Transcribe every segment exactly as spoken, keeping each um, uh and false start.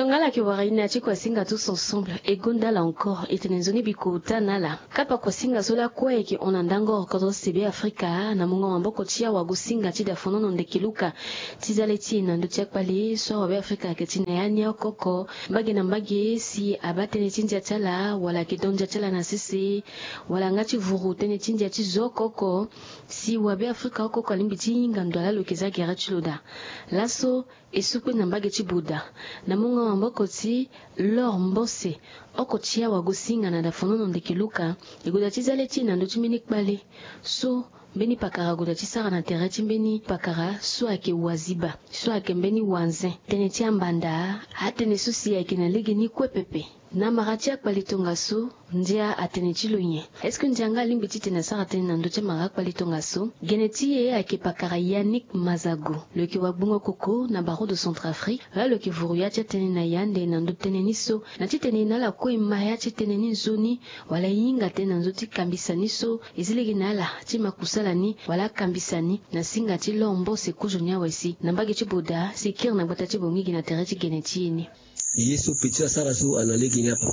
Tongana ala yeke wara e na ya ti kuasinga tous ensemble e gonda ala encore e tene nzoni bikota na ala. Kapa kuasinga so lakue e yeke hon na ndango oro kodro sebe afrika na mungo maboko ti awagosinga ti dafonono ndeke luka. Ti za le ti e na ndö ti akpale so awabe afrika ayeke ti na ya ni oko oko mbage na mbage si abaa tënë ti ndia ti ala wala ayeke don ndia ti ala na sese wala nga ti vuru tënë ti ndia ti zo oko oko. Si wabe afrika oko oko alingbi ti hinga ndo ala lo yeke za gere ti lo daa. Laso e sukpe na mbage ti boda na mungo maboko ti lor mbose oko ti awagosinga na dafonono ndeke luka. E goda ti za le ti e na ndö ti mbeni kpale so mbeni pakara goda ti sara na tere ti mbeni pakara so ayeke waziba so ayeke mbeni wanze tënë ti ambanda. Atënë so si ayeke na legeni kue pepe. Na mara ti akpale tongaso ndia atene ti lo nyen? Est-ce que ndia nga alingbi ti tene asara tënë na ndö ti amara akpale tongaso? Gene ti e ayeke pakara yannick mazago lo yeke wagbongo koko na barreau de centrafrique. Laa lo yeke vuru ya ti atënë na yande na ndö ti tënë ni so na ti tene na ala kue e ma ya ti tënë ni nzoni wala e hinga tënë na ndö ti kambisa ni so e zi lege na ala ti ma kusala ni wala akambisa ni na singa ti lor mbose kozo ni awe si na mbage ti boda si e kiri na gbata ti bongi gi na tere ti gene ti e ni. Ye so petit asara so ana lege ni ape.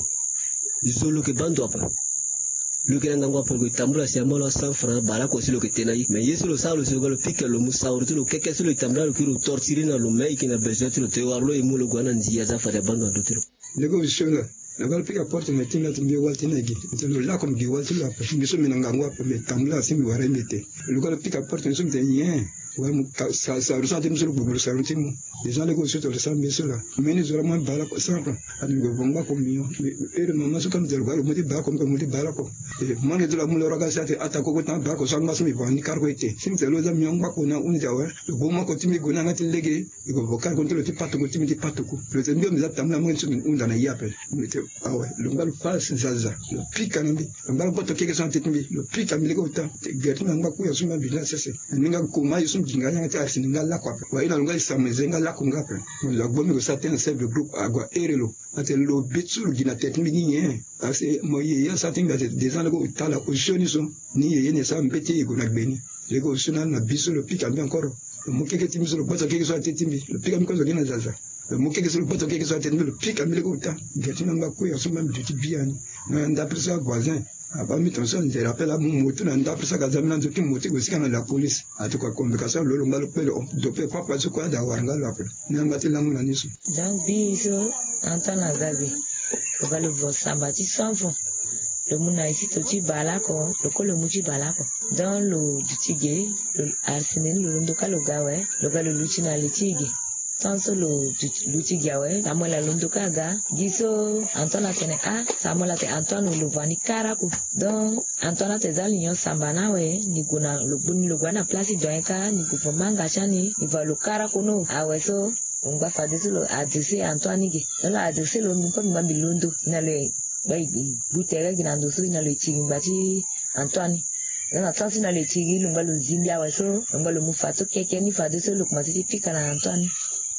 Zo lo yeke baa ndo ape. Lo yeke na ngangu ape lo yeke tambula si amolaa cent francs baleoko si lo yeke te na ye mais ye so lo sara lo si lo ga lo pika lo mu sauru ti lo keke so lo yeke tambula lo kiri lo tortiri na lo me e yeke na besoin ti lo te wara lo e mu lo gue na ndia aza fade abaa ndo na ndö ti lo. Lege osio la. Lo ga lo pika porte na ti na ti mbi wali ti na gi. Lo lako mbi gi wali ti lo ape mbi so mbi na ngangu ape mbi tambula si mbi wara ye mbi te. Lo ga lo pika porte mbi so mbi te nyen? Wala mu saru so ate mbi so lo gbogbo lo saru ti mu. Deja lege osio to lo sara mbi so la. Mbeni zo la mo mbi baleoko cent francs. Ate mbi gbogbo ngbako mbi nyon. Ere mama so ka mbi te lo ga lo mu ti baleoko mbi ka mu ti baleoko. Mo nge zo la mu lo roga si ate ata koko ti na baleoko so angba so mbi vanga ni karoko ete si mbi te lo za mbi nyon ngbako na ahunzi awe. Lo gbo moko ti mbi gue na yanga ti lege. Iko vo kari koni ti lo ti patuku ti mbi ti patuku. Lo ti mbi ombi za tambula mo ti mbi hunda na ye ape. Mbi ti awe lo ngba lo pasi zaza. Lo pika na mbi. Lo ngba lo gboto keke so na teti mbi lo pika mbi lege ota. Gere ti mbi angba kuya so mbi na mbi na sese. Ni nga koma ye so mbi gi nga yanga ti arisi ni nga lako ape wa ye na lo nga ye sama eze nga lako nga ape. Mo lo agbo mbi ko sa te na sef de groupe ague ahere lo. Ate lo be ti so lo gi na teti mbi ni nyen? Asi mo ye ye asa ti mbi ate deza lege ota la osioni so. Ni ye ye ni esa mbeti ye go na gbe ni. Lege osio na ala na bi so lo pika mbi encore. Lo mu keke ti mbi so lo gboto keke so ate ti mbi lo pika mbi kozo gi na zaza. Lo mu keke so lo gboto keke so ate ti mbi lo pika mbi lege ota. Gere ti mbi angba kuya so mbi mbi duti biani. Na ndapre so avoisin abaa mbi tongaso nzere ape la amu moti na ndapre so aga za mbi na nzo ti moti go sika na la police. Ate kua convocation lo lo ngba lo kpe lo hon dope papa so kue ada wara nga lo ape. Ni angba ti lango na ni so. Donc bi so antoine aza be. Lo ga lo vo samba ti cent francs. Lo mu na isi to ti baleoko. Lo ko lo mu ti baleoko. Donc lo duti ge. Lo arsene ni lo londo ka lo ga awe. Lo ga lo luti na le ti e ge. Tant so lo luti gi awe samuel alondo ka aga. Gi so antoine atene ah samuel ate antoine lo vani kara ko. Donc antoine ate za lo nyon samba na awe. Ni gue na lo gbuni lo gue na place ti doyen ka ni gue vo manga ti ani ni va lo kara ko no awe so. Lo ngba fadeso lo adresse antoine ni ge. Donc lo adresse lo mbi kue mbi ngba mbi londo na lo e gba e gbu tere gi na ndo so na lo e ti gi ngba ti antoine ni. Lo na tan so na lo e ti gi lo ngba lo zi mbi awe so. Lo ngba lo mu fa so keke ni fadeso lo komanse ti pika na antoine ni.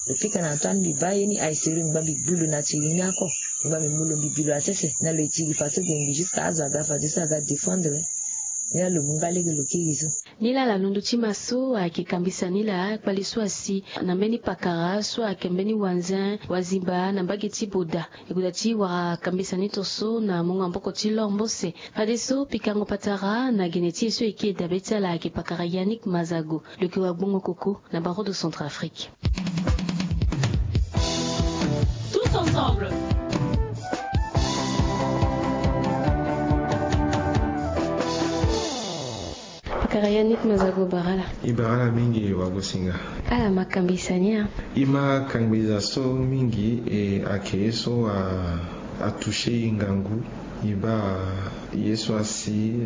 Lo pika na antoine mbi baa ye ni aiseri ngba mbi gbu lo na ti gi ni ako. Ngba mbi mu lo mbi bi lo asese na lo e ti gi fa so ge mbi jusque azo aga fadeso aga defendre. Ni la lo mu nga lege lo kiri so. Ni la la londo ti ma so ayeke kambisa ni la kpali so asi na mbeni pakara so ayeke mbeni wanzin wazimba na mbage ti boda. E goda ti wara kambisa ni to so na mungo maboko ti lor mbose. Fadeso pikango patara na gene ti e so e ke dabe ti ala ayeke pakara yannick mazago. Lo yeke wagbongo koko na barreau de centrafrique. Tous ensemble. Pakara yannick mazago barala. E barala mingi wagosinga. Ala ma kambisa ni a. E ma kambisa so mingi e ake ye so a atoucher e ngangu. E baa ye so asi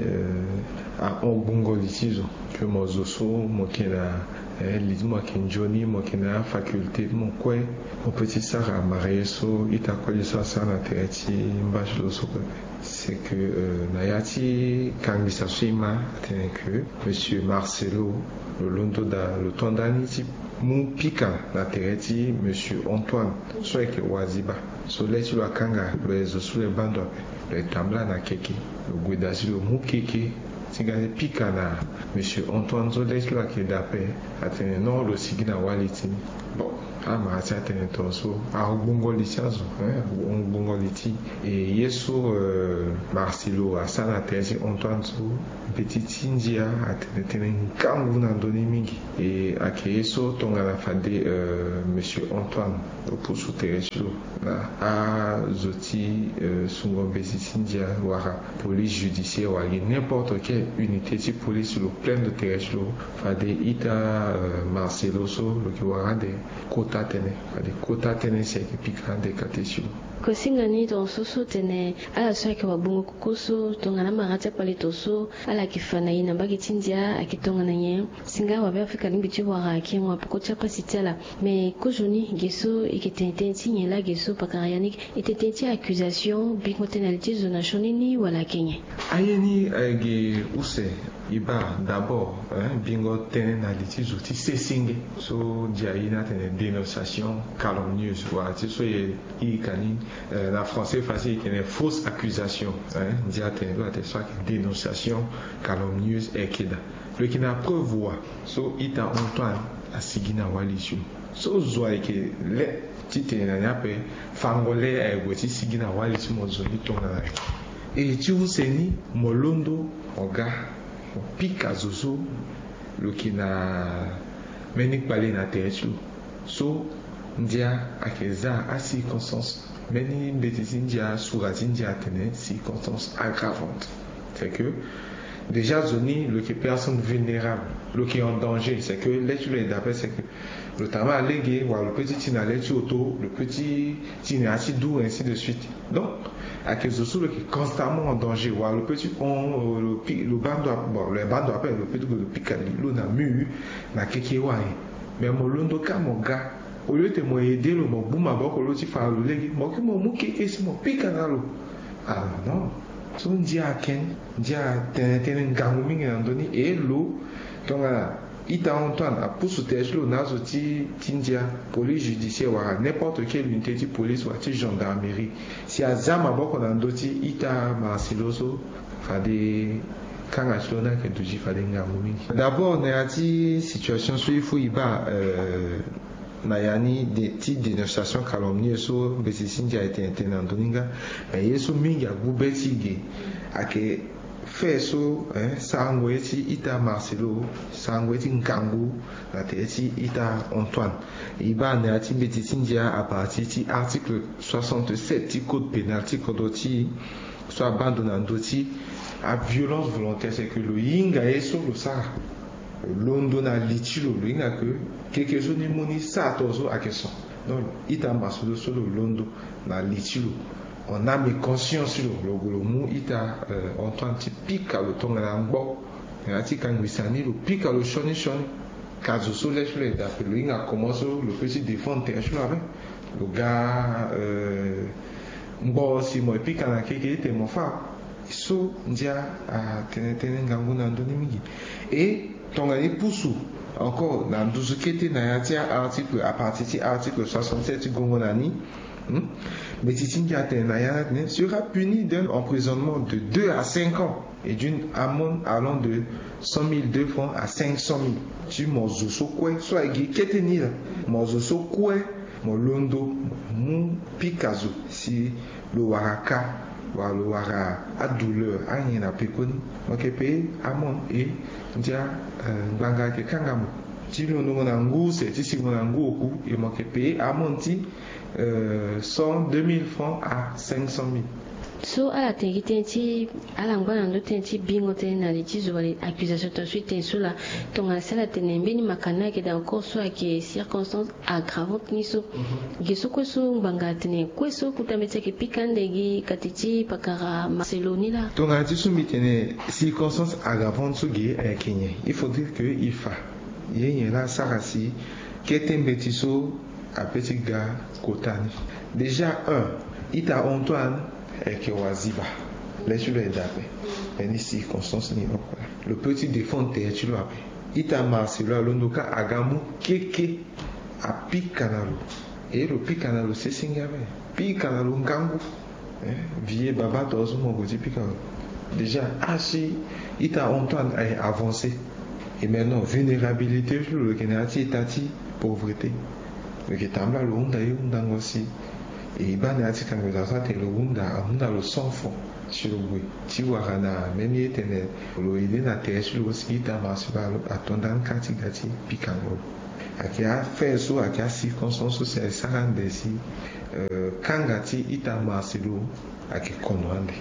ahon gbongo li ti zo. Ke mo zo so mo yeke na li ti mo ayeke nzoni mo yeke na afaculté ti mo kue. Mo peut ti sara marie so ita kue li so asara na tere ti mba ti lo so pepe. C'est que na ya ti kangisa so e ma atene ke monsieur marcelo lo londo daa lo to ndani ti mu pika na tere ti monsieur antoine so ayeke waziba. So le ti lo akanga lo ye zo so lo ye baa ndo ape. Lo ye tambula na keke lo gue daa si lo mu keke ti ga ti pika na monsieur antoine so le ti lo ayeke daa ape. Atene non lo sigi na wali ti ni. Bon, amara ti atene tongaso agbongo li ti azo, eh, agbongo li ti e ye so, eh, Marcelo asara na tere ti Antoine so, mbeti ti ndia atene tënë ngangu na ndö ni mingi. E ayeke ye so tongana fade, eh, monsieur Antoine lo pusu tere ti lo na azo ti, eh, sungo mbeti ti ndia wala police judiciaire wala gi n'importe quelle unité ti police lo plaindre tere ti lo fade ita, eh, Marcelo so lo yeke wara ande kota tënë, fade kota tënë si ayeke pika ande kate ti lo. Kosinga ni tongaso so tene ala so ayeke wagbongo koko so tongana amara ti akpale tongaso ala yeke fa na e na mbage ti ndia ayeke tongana nyen? Si nga wabe Afrika alingbi ti wara ayeke mo apoko ti apasi ti ala. Me kozoni ge so e yeke tene tënë ti nyen laa ge so pakara ya ni? E tene tënë ti accusation, bingo tënë na li ti zo na sioni ni wala ayeke nyen? Aye ni ayeke use. E baa d'abord, eh, bingo tënë na li ti zo ti sesenge so ndia aye ni atene dénonciation calomnieuse wala ti so e, e ka ni, eh, na français facile e tene fausse accusation, eh, ndia atene lo atene so ayeke dénonciation calomnieuse ayeke daa. Lo yeke na preuve wa so ita Antoine asigi na wali ti lo. So zo ayeke le titene na ni ape fango le ayeke gue ti sigi na wali ti mo zo ni tongana nyen? E ti use ni mo londo mo ga mo pika zo so lo yeke na mbeni kpale na tere ti lo. So ndia ayeke za acirconstance, mbeni mbeti ti ndia sura ti ndia atene circonstance aggravante. C'est que déjà zo ni lo yeke personne vulnérable, lo yeke en danger, c'est que le ti lo ayeke daa ape, c'est que lo tama lege wala lo peut ti ti na le ti oto, lo peut ti ti na ya ti dour, ainsi de suite. Donc ayeke zo so lo yeke constamment en danger wala lo peut ti hon, lo pi lo baa ndo ape, bon lo baa ndo ape, lo peut ti gue lo pika li lo na mur na keke wani. Mais mo londo kâ mo ga, au lieu ti mo aidé lo mo gbu maboko lo ti fa na lo lege, mo kiri mo mu keke si mo pika na lo. Ah non. So ndia ayeke ni, ndia atene tënë ngangu mingi na ndö ni. E lo tongana ita Antoine apusu tere ti lo na azo ti ti ndia, police judiciaire wala n'importe quelle unité ti police wala ti gendarmerie, si aza maboko na ndö ti ita Marcelo so, fade kanga ti lo ni ayeke duti fade ngangu mingi. D'abord na ya ti situation so il faut e baa, euh, na ya ni de, ti dénonciation calomnieuse so mbeti ti ndia ayeke tene tënë na ndö ni nga. Mais ye so mingi agbu be ti e ge ayeke fait so, eh, sarango ye ti ita Marcelo, sarango ye ti ngangu na tere ti ita Antoine. E baa na ya ti mbeti ti ndia à partir ti article soixante-sept ti code pénal ti kodro ti e, so abaa ndo na ndö ti aviolence volontaire, c'est que lo hinga ye so lo sara. Lo londo na li ti lo, lo hinga ke keke so ni mu ni sara tongaso ayeke son. Donc ita Marcelo so lo londo na li ti lo, en âme et conscience ti lo, lo gue lo mu ita, euh, Antoine ti pika lo tongana ngbo. Na ya ti kangbisa ni lo pika lo sioni sioni. Ka zo so le ti lo ayeke daa ape, lo hinga comment so lo peut ti défendre tere ti lo ape. Lo ga, euh, ngbo si mo pika na keke ete mo fâ. So ndia atene tënë ngangu na ndö ni mingi. E tongana e pusu encore na nduzu kete na ya ti article, à partir ti article soixante-sept ti gongo na ni, hmm? Mbeti ti ndia atene na ya ni atene sera puni d'un emprisonnement de deux à cinq ans et d'une amende allant de cent mille deux francs à cinq cent mille. Ti mo zo so kue so ayeke kete ni laa, mo zo so kue mo londo mu pika zo si lo wara ka wala lo wara adouleur anyen na pekoni, mo yeke payer amende. E ndia, euh, ngbanga ayeke kanga mo ti londongo na ngu use ti singo na ngu oku, e mo yeke payer amende ti, euh, cent, deux mille francs à cinq cent mille. So ala tene gi tënë ti ala ngba na ndö tënë ti bingo tënë na li ti zo wala accusation tongaso e tene so laa, tongana si ala tene mbeni makana ayeke daa encore so ayeke circonstance aggravante ni so. Mhm. Ge so kue so ngbanga atene kue so kota mbeti ayeke pika ande gi kati ti pakara Marcelo ni laa. Tongana ti so mbi tene circonstance aggravante so ge ayeke nyen, il faudrait que e fa ye nyen laa asara si kete mbeti so apeut ti ga kota ni. Déjà un, ita Antoine ayeke waziba. Le ti lo ayeke daa ape. Mbeni circonstance ni oko laa lo peut ti défendre tere ti lo ape. Ita Marcelo alondo kâ aga mu keke apika na lo. E lo pika na lo sesenge ape, pika na lo ngangu. Eh, vieux baba tongaso mo gue ti pika lo. Déjà asi ita Antoine aye avancé. Et maintenant vulnérabilité ti lo lo yeke na ya ti état ti pauvreté. Lo yeke tambula lo hunda ye hundango si e baa na ya ti kango eza so atene lo hunda ahunda lo cent francs si lo gue ti wara na même ye tene lo aidé na tere ti lo si ita Marcelo alo ato ndani kâ ti ga ti pikango lo. Ayeke affaire so ayeke acirconstance so si asara ande si kanga ti ita Marcelo ayeke kono ande.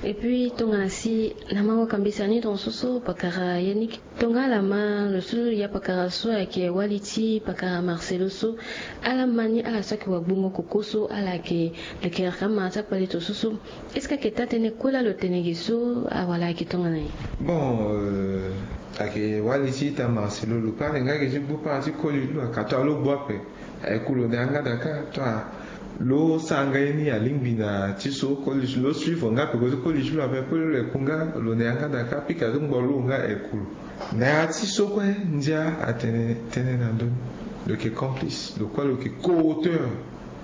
Et puis tongana si na mango kambisa ni tongaso so pakara Yannick, tongala ma lo so ya pakara so ayeke wali ti pakara Marcelo so, ala ma ni ala so ayeke wagbongo koko so ala yeke lekeraka ma ti akpale tongaso so. Est-ce que ayeke taa tënë kue laa lo tene ge so awala ayeke tongana nyen? Bon, ayeke wali ti ita Marcelo lo kue ande nga ge ti gbu para ti koli ti lo akato alo gbu ape. Aye ku lo na yanga daa kâ tonga lo sara nga ye ni alingbi na ti so koli ti lo suivre nga peko ti koli ti lo ape koli lo aye ku nga lo na yanga daa kâ pika ti ngbo lo nga aye ku lo. Na ya ti so kue ndia atene tënë na ndö ni. Lo yeke complice lo kue lo yeke co-auteur.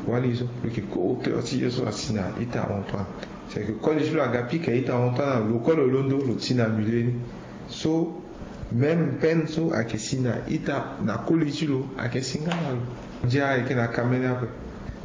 Wali so lo yeke co-auteur ti ye so asi na ita Antoine. C'est que koli ti lo aga pika ita Antoine lo kue lo londo lo ti na milieu ni. So même peine so ayeke si na ita na koli ti lo ayeke si nga na lo. Ndia ayeke na kamene ape.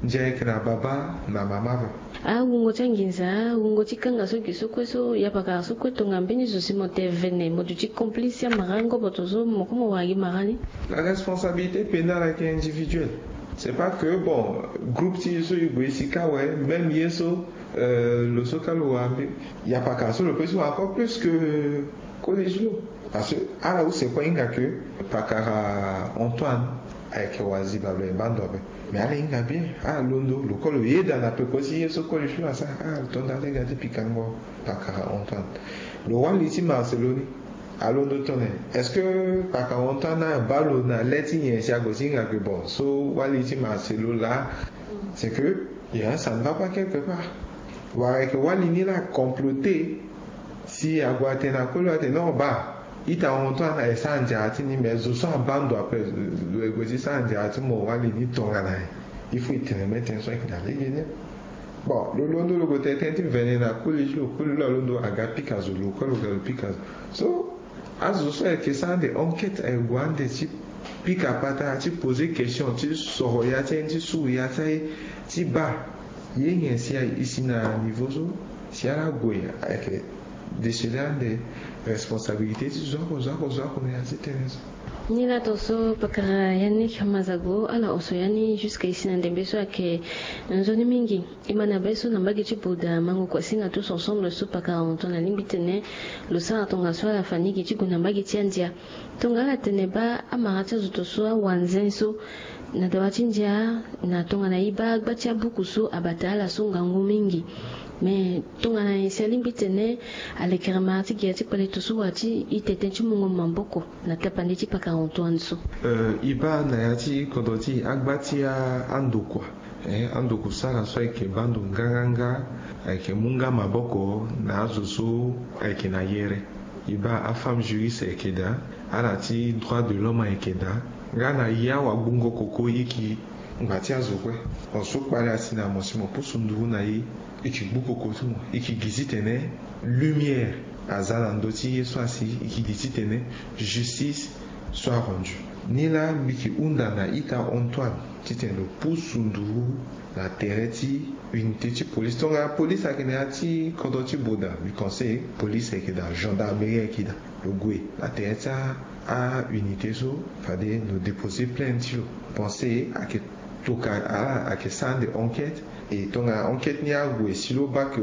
Ndia ayeke na baba na mama ape. Awungo ti anginza, awungo ti kanga so gi so kue so ya pakara so kue tongana mbeni zo si mo tene vene mo duti complice ti amara ngobo tongaso mo kue mo wara gi mara ni. La responsabilité pénale ayeke individuelle. C'est pas que bon groupe ti ye so e gue e si kâ awe même ye so lo so kâ lo wara mbi ya pakara so lo peut ti wara encore plus que koli ti lo. Parce que ala use kue ahinga ke pakara Antoine ayeke wazi balebalemba ndo ape. Mais ala hinga bien ala londo lo kue lo yeda na peko ti ye so koli ti lo asara ala tonda ti ga ti pikango pakara Antoine. Lo wali ti Marcelo ni alondo tongana est-ce que pakara Antoine abaa lo na le ti nyen si ague ti hinga ke bon so wali ti Marcelo laa. C'est que ya ça ne va pas quelque part. Wala ayeke wali ni laa comploter si ague atene na koli atene non baa ita Antoine aye sara nzara ti ni mais zo so abaa ndo ape lo ye gue ti sara nzara ti mo wali ni tongana nyen? Il faut e tene même tënë so ayeke na lege ni. Bon lo londo lo gue tene tënë ti vene na koli ti lo koli lo alondo aga pika zo lo kue lo ga lo pika zo. So azo so ayeke sara ande enquête aye gue ande ti pika patara ti poser question ti soro ya ti aye ni ti suru ya ti aye ti baa ye nyen si aye e si na niveau so si ala gue ayeke déceler ande responsabilité ti zo oko zo oko zo oko na ya ti tënë so. Ni laa tongaso pakara Yannick Mazago ala oso ya ni jusque e si na ndembe so ayeke nzoni mingi. E ma na be so na mbage ti Boda mango kuasinga tous ensemble so pakara Antoine alingbi tene lo sara tongaso ala fa ni gi ti gue na mbage ti andia. Tongana ala tene baa amara ti azo tongaso awanzen so na dawa ti ndia na tongana e baa agba ti abuku so abata ala so ngangu mingi. Mais tongana nyen si alingbi tene alekere mara ti gi ya ti kpale tongaso wala ti e tene tënë ti mungo maboko na tapande ti pakara Antoine so? E baa na ya ti kodro ti e agba ti andokua. Ando kusala so ayeke baa ndo nganganga ayeke mu nga maboko na azo so ayeke na yere. E baa afemme juriste ayeke daa, ala ti droit de l'homme ayeke daa, nga na ya wagbongo koko e yeke ngba ti azo kue. Mo so kpale asi na mo si mo pusu nduru na e, e yeke gbu koko ti mo, e yeke gi titene lumière aza na ndö ti ye so asi e yeke gi titene justice soit rendue. Ni laa mbi yeke hunda na ita Antoine titene lo pusu nduru na tere ti unité ti police tongana police ayeke na ya ti kodro ti Boda mbi pense police ayeke daa, gendarmerie ayeke daa, lo gue na tere ti aunité so fade lo déposer plainte ti lo. Pense ayeke toka ala ayeke sara ande enquête. E tongana enquête ni ague si lo baa ke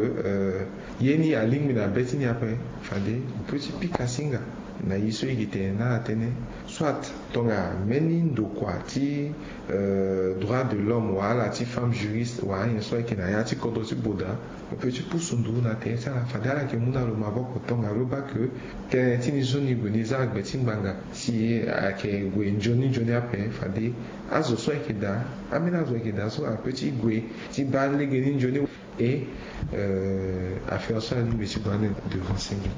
ye ni alingbi na be ti ni ape, fade lo peut ti pika singa na ye so e yeke tene na ala tënë. Soit tongana mbeni ndokua ti droit de l'homme wala ala ti femme juriste wala anyen so ayeke na ya ti kodro ti Boda, lo peut ti pusu nduru na tere ti ala fade ala yeke mu na lo maboko tongana lo baa ke tënë ti ni so ni gue ni za gbe ti ngbanga si ayeke gue nzoni nzoni ape. Fade azo so ayeke daa, ambeni azo ayeke daa so ala peut ti gue ti baa lege ni nzoni. Et affaire so alingbi ti gue ande devant senge.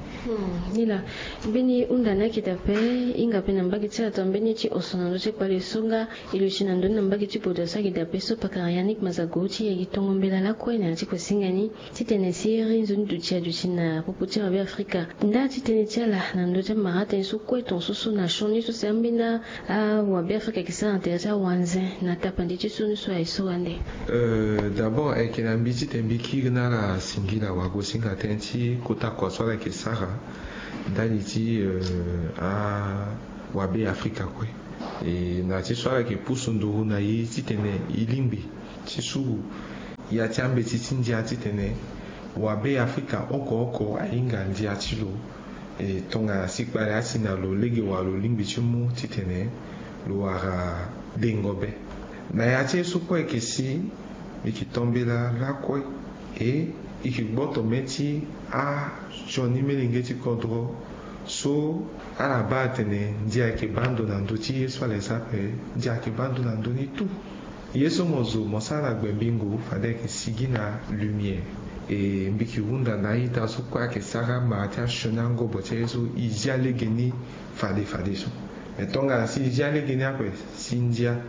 Ni laa mbeni hunda ni ayeke daa ape. Hinga ape na mbage Ti ala tambeni ti oso na ndö ti kpale so nga e luti na ndö ni na mbage ti Bodo so ayeke dape so pakara Yannick Mazago ti yeke tongo mbela lakue na ya ti kue singa ni titene siriri nzoni duti aduti na popo ti awabe Afrika. Nda ti tënë ti ala na ndö ti amara tënë so kue tongaso so na sioni so si ambeni awabe Afrika ayeke sara na tere ti awanze na tapande ti sioni so aye so wande. Euh, d'abord ayeke na mbi titene mbi kiri na ala singila wagosinga tënë ti kota kua so ala yeke sara ndali ti euh, awabe Afrika kue. E na ti so ala yeke pusu nduru na e titene e lingbi ti suru ya ti ambeti ti ndia titene wabe Afrika oko oko ahinga ndia ti lo. E tongana si kpale asi na lo lege wala lo lingbi ti mu titene lo wara dengo be. Na ya ti ye so kue ayeke si mbi yeke to mbela lakue. E e yeke gboto mê ti asioni melenge ti kodro so ala baa atene ndia ayeke baa ndo na ndö ti ye so ala yeke sara ape. Ndia ayeke baa ndo na ndö ni tout. Ye so mo zo mo sara na gbe mbingo fade ayeke sigi na lumière. E mbi yeke hunda na a-ita so kue ayeke sara mara ti asioni angobo ti aye so e zia legeni fade fadeso. Me tongana si e zia legeni ape si ndia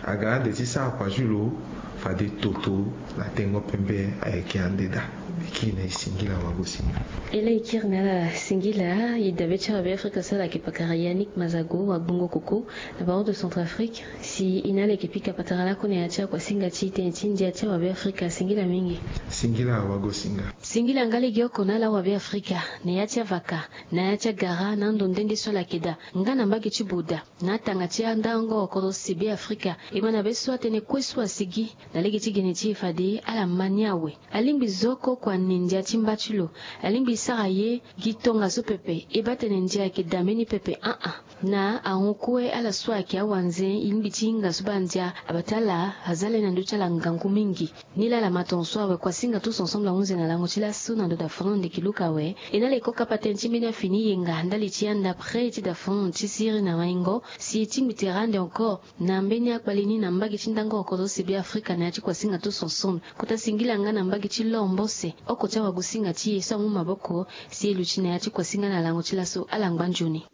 aga ande ti sara kua ti lo fade toto na tengo pembe ayeke ande daa. Mbi kiri na e singila wagosinga. E laa e kiri na ala singila. E dabe ti awabe Afrika so ala yeke pakara Yannick Mazago wa Gbungo Koko na Baron de Centrafrique. Si e na ala yeke pika patara lakue na ya ti akuasinga ti tënë ti ndia ti awabe Afrika. Singila mingi. Singila wagosinga. Singila nga legeoko na ala awabe Afrika na ya ti avaka na ya ti agara na ando nde nde so ala yeke daa nga na mbage ti Boda na atanga ti andango kodro sese be Afrika. E ma na be so atënë kue so asigi na lege ti gene ti e fade ala ma ni awe. Alingbi zo oko kua ni ndia ti mba ti lo. Alingbi sara ye gi tongaso pepe. E baa atene ndia ayeke daa mbeni pepe. Aa na ahon kue ala so ayeke awanze e lingbi ti hinga so baa ndia abata ala aza le na ndö ti ala ngangu mingi. Nilaa ala ma tongaso awe kuasinga tous ensemble ahunze na lango ti laso na ndo da fano ndeke luka awe. E na ala e ko kapa tënë ti mbeni afini yenga ndali ti anda près ti da fano ti siriri na maingo si e tingbi tere ande encore na mbeni akpale ni na mbage ti ndango oko so sese be Afrika na ya ti kuasinga tous ensemble. Kota singila nga na mbage ti lor mbose oko ti awagosinga ti e so amu maboko si e luti na ya ti kuasinga na lango ti laso. Ala ngba nzoni.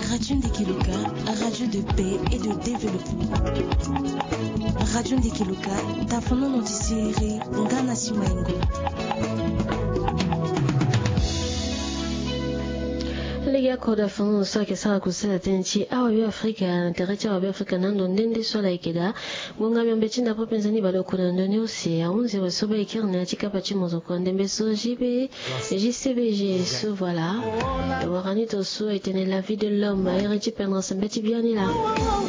Radio Ndeke Luka, radio de paix et de développement. Radio Ndeke Luka, tafonono ti siriri nga na simaingo. Lege oko da fano so ayeke sara kusala tënë ti awabe Afrika na tere ti awabe Afrika na ndo nde nde so ala yeke daa. Ngonga miombe ti nda pepe nzoni baleoko na ndoni use ahunzi awe so baa e kiri na ya ti kapa ti mozoko ndembe so J B J C B G so voilà. E wara ni tongaso e tene la vie de l'homme airi ti pendra sembe ti biani laa.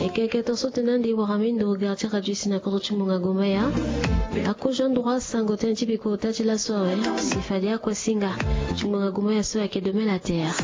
E keke tongaso tene ande e wara mbi ndo ga ti radio si na kodro ti ngbonga gomaya. Akozo ndroit sango tënë ti bikota ti laso awe si fade akuasinga ti ngbonga gomaya so ayeke domaine la terre.